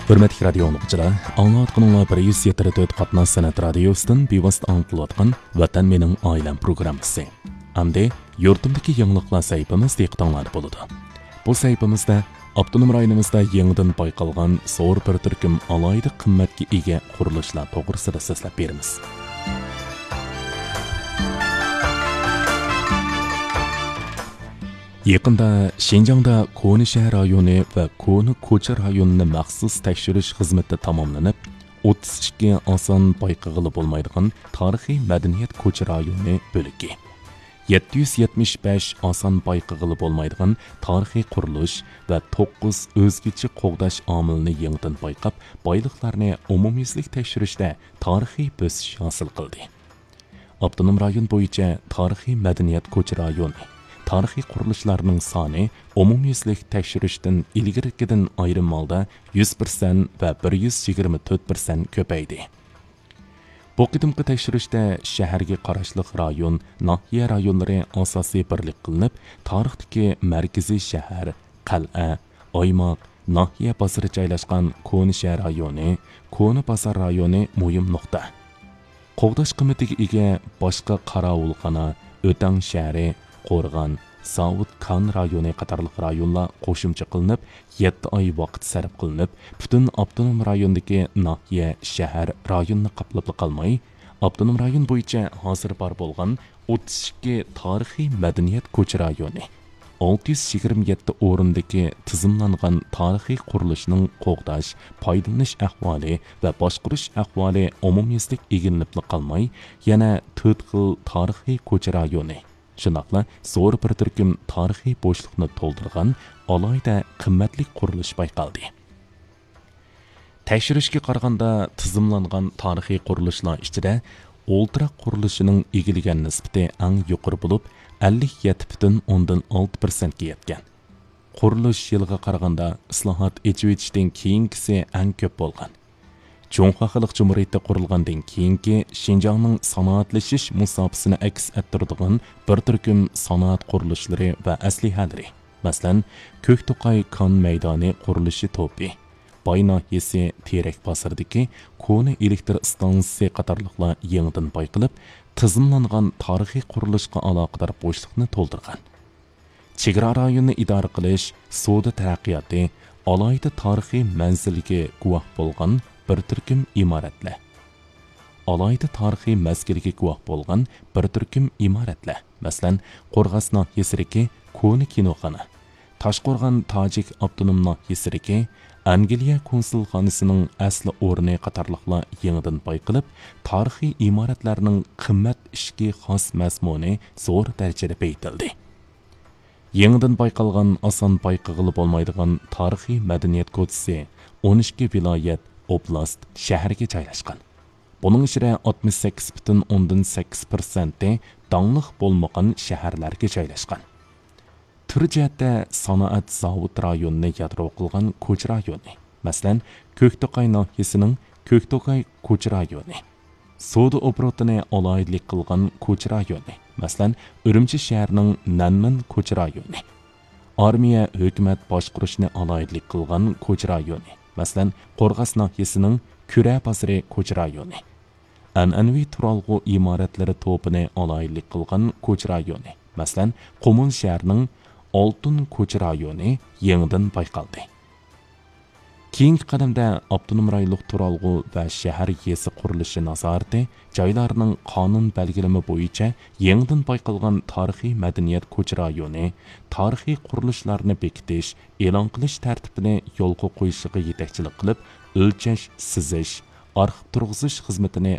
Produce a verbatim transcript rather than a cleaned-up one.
ھۆرمەتلىك رادىيو ئاڭلىغۇچىلار، ئاڭلاۋاتقىنىڭلار بىر يۈز يەتتە تۆت قاتناش سەنئەت رادىيوسىدىن بىۋاسىتە ئاڭلىتىلىۋاتقان ۋەتەن مېنىڭ ئائىلەم پروگراممىسى. ئەمدى يۇرتۇمدىكى يېڭىلىقلار سەھىپىمىز دىققىتىڭلاردا بولىدۇ. بۇ سەھىپىمىزدە ئاپتونوم رايونىمىزدا يېڭىدىن بايقالغان زور بىر تۈركۈم ئالاھىدە قىممەتكە ئىگە قۇرۇلۇشلار توغرىسىدا سۆزلەپ بېرىمىز. يېقىندا شىنجاڭدا كونا شەھەر رايونى ۋە كونا كوچا رايونىنى مەخسۇس تەكشۈرۈش خىزمىتى تاماملىنىپ، ئوتتۇز ئىككى ئاسان بايقىغىلى بولمايدىغان تارىخىي مەدەنىيەت كوچا رايونى بۆلىكى، يەتتە يۈز يەتمىش بەش ئاسان بايقىغىلى بولمايدىغان تارىخىي قۇرۇلۇش ۋە توققۇز ئۆزگىچە قوغداش ئامىلىنى يېڭىدىن بايقاپ، بايلىقلارنى ئومۇميۈزلۈك تەكشۈرۈشتە تارىخىي بۆسۈش ھاسىل قىلدى. ئاپتونوم رايون بويىچە تارىخىي مەدەنىيەت كوچا رايونى، تارىخىي قۇرۇلۇشلارنىڭ سانى ئومۇميۈزلۈك تەكشۈرۈشتىن ئىلگىرىكىدىن ئايرىم ھالدا يۈز پىرسەنت ۋە بىر يۈز يىگىرمە تۆت پىرسەنت كۆپەيدى. بۇ قېتىمقى تەكشۈرۈشتە شەھەرگە قاراشلىق رايون، ناھىيە رايونلىرى ئاساسىي بىرلىك قىلىنىپ، تارىختىكى مەركىزىي شەھەر، قەلئە، ئايماق، ناھىيە بازىرى جايلاشقان كونا شەھەر رايونى، كونا بازار رايونى مۇھىم نۇقتا. قوغداش قىممىتىگە ئىگە باشقا قاراۋۇلخانا، ئۆتەڭ شەھىرى، قورغان، زاۋۇت كان رايونى قاتارلىق رايونلار قوشۇمچە قىلىنىپ، يەتتە ئاي ۋاقىت سەرپ قىلىنىپ، پۈتۈن ئاپتونوم رايوندىكى ناھىيە، شەھەر، رايوننى قاپلاپلا قالماي، ئاپتونوم رايون بويىچە ھازىر بار بولغان ئوتتۇز ئىككى تارىخىي مەدەنىيەت كوچا رايونى، ئالتە يۈز يىگىرمە يەتتە ئورۇندىكى تىزىملانغان تارىخىي قۇرۇلۇشنىڭ قوغداش، پايدىلىنىش ئەھۋالى ۋە باشقۇرۇش ئەھۋالى ئومۇميۈزلۈك ئىگىلىنىپلا قالماي، يەنە تۆت خىل تارىخىي كوچا رايونى، شۇنداقلا زور بىر تۈركۈم تارىخىي بوشلۇقنى تولدۇرغان ئالاھىدە قىممەتلىك قۇرۇلۇش بايقالدى. تەكشۈرۈشكە قارىغاندا، تىزىملانغان تارىخىي قۇرۇلۇشلار ئىچىدە ئولتۇراق قۇرۇلۇشىنىڭ ئىگىلىگەن نىسبىتى ئەڭ يۇقىرى بولۇپ، ئەللىك يەتتە پۈتۈن ئوندىن ئالتە پىرسەنتكە يەتكەن. قۇرۇلۇش يىلىغا قارىغاندا، ئىسلاھات، ئېچىۋېتىشتىن كېيىنكىسى ئەڭ كۆپ بولغان. جۇڭخۇا خەلق جۇمھۇرىيىتى قۇرۇلغاندىن كېيىنكى شىنجاڭنىڭ سانائەتلىشىش مۇساپىسىنى ئەكس ئەتتۈرىدىغان بىر تۈركۈم سانائەت قۇرۇلۇشلىرى ۋە ئەسلىھەلىرى، مەسىلەن، كۆكتوقاي كان مەيدانى قۇرۇلۇشى توپى، باي ناھىيەسى تېرەك بازىرىدىكى كونا ئېلېكتر ئىستانسىسى قاتارلىقلار يېڭىدىن بايقىلىپ، تىزىملانغان تارىخىي قۇرۇلۇشقا ئالاقىدار بوشلۇقنى تولدۇرغان. چېگرا رايونىنى ئىدارە قىلىش، سودا تەرەققىياتى، ئالاھىدە تارىخىي مەنزىلگە گۇۋاھ بولغان بىر تۈركۈم ئىمارەتلەر. ئالاھىدە تارىخىي مەزگىلگە گۇۋاھ بولغان بىر تۈركۈم ئىمارەتلەر، مەسىلەن، قورغاس ناھىيەسىدىكى كونا كىنوخانا، تاشقورغان تاجىك ئاپتونوم ناھىيەسىدىكى ئەنگلىيە كونسۇلخانىسىنىڭ ئەسلى ئورنى قاتارلىقلار يېڭىدىن بايقىلىپ، تارىخىي ئىمارەتلەرنىڭ قىممەت ئىچكى خاس مەزمۇنى زور دەرىجىدە بېيىتىلدى. يېڭىدىن بايقالغان ئاسان بايقىغىلى بولمايدىغان تارىخىي مەدەنىيەت كوچىسى ئون ئىككى ۋىلايەت، ئوبلاست، شەھەرگە جايلاشقان. بۇنىڭ ئىچىدە ئاتمىش سەككىز پۈتۈن ئوندىن سەككىز پىرسەنتى داڭلىق بولمىغان شەھەرلەرگە جايلاشقان. تۈر جەھەتتە سانائەت زاۋۇت رايونىنى يادرو قىلغان كوچا رايونى، مەسىلەن، كۆكتوقاي ناھىيەسىنىڭ كۆكتوقاي كوچا رايونى، سودا ئوبوروتىنى ئالاھىدىلىك قىلغان كوچا رايونى، مەسىلەن، ئۈرۈمچى شەھىرىنىڭ نەنمېن كوچا رايونى، ئارمىيە، ھۆكۈمەت باشقۇرۇشنى ئالاھىدىلىك قىلغان كوچا رايونى، مەسىلەن، قورغاس ناھىيەسىنىڭ كۈرە بازىرى كوچا رايونى، ئەنئەنىۋى تۇرالغۇ ئىمارەتلىرى توپىنى ئالاھىدىلىك قىلغان كوچا رايونى، مەسىلەن، قۇمۇل شەھىرىنىڭ ئالتۇن كوچا رايونى يېڭىدىن بايقالدى. كېيىنكى قەدەمدە ئاپتونوم رايونلۇق تۇرالغۇ ۋە شەھەر يېزا قۇرۇلۇشى نازارىتى جايلارنىڭ قانۇن بەلگىلىمە بويىچە يېڭىدىن بايقالغان تارىخىي مەدەنىيەت كوچا رايونى، تارىخىي قۇرۇلۇشلارنى بېكىتىش، ئېلان قىلىش تەرتىپىنى يولغا قويۇشىغا يېتەكچىلىك قىلىپ، ئۆلچەش، سىزىش، ئارخىپ تۇرغۇزۇش خىزمىتىنى